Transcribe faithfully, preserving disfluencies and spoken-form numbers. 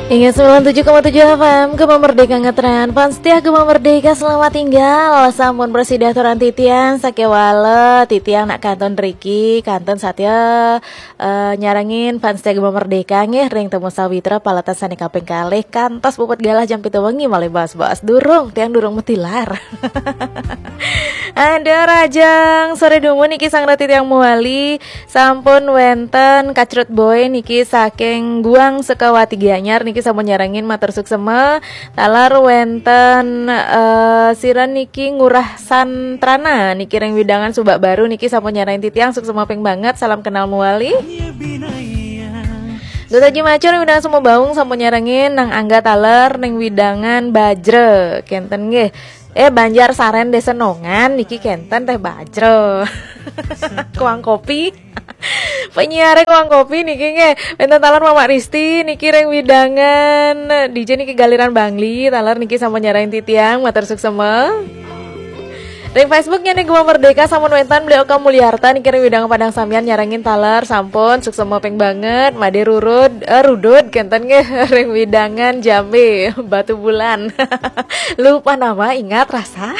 Ingat sembilan tujuh koma tujuh F M, Gema Merdeka ngetren. Fans setia Gema Merdeka, selamat tinggal. Sampun prasida aturang titiang, sakéwala titiang nak kantun riki, kantun satya eh, nyarengin fans setia Gema Merdeka nggih ring Temu Sawitra paletan sané kaping kalih kantos puput galah jam pitu wengi malih bahas-bahas durung, tiang durung metilar. Ada Rajang sore dumun niki sang rati tiang muali. Sampun wénten Kacrut Boy niki saking Guang Sukawati Gianyar niki sampun nyarengin matur suksema. Taler wénten eh, sira niki Ngurah Santrana niki ring widangan Subak Baru niki sampun nyarengin titiang suksema ping banget, salam kenal muali. Duta Ji Macur ring widangan Sumbawa Baung sampun nyarengin nang angga taler ning widangan Bajra kenten nggih. Eh Banjar Saren Desa Nongan niki kenten teh Bajra. Kuang kopi. Penyiare kuang kopi niki nggih. Wénten taler Mamak Risti niki ring widangan D J niki Galiran Bangli, taler niki sampun nyarengin titiang matur suksema. Ring Facebook niki Gema Merdeka sampun wénten Beli Oka Mulyarta niki ring widangan Padang Sambian nyarengin taler sampun suksema ping banget, Made Rurud eh, Rudud kenten nggih ring widangan Jambe Batu Bulan. Lupa nama ingat rasa.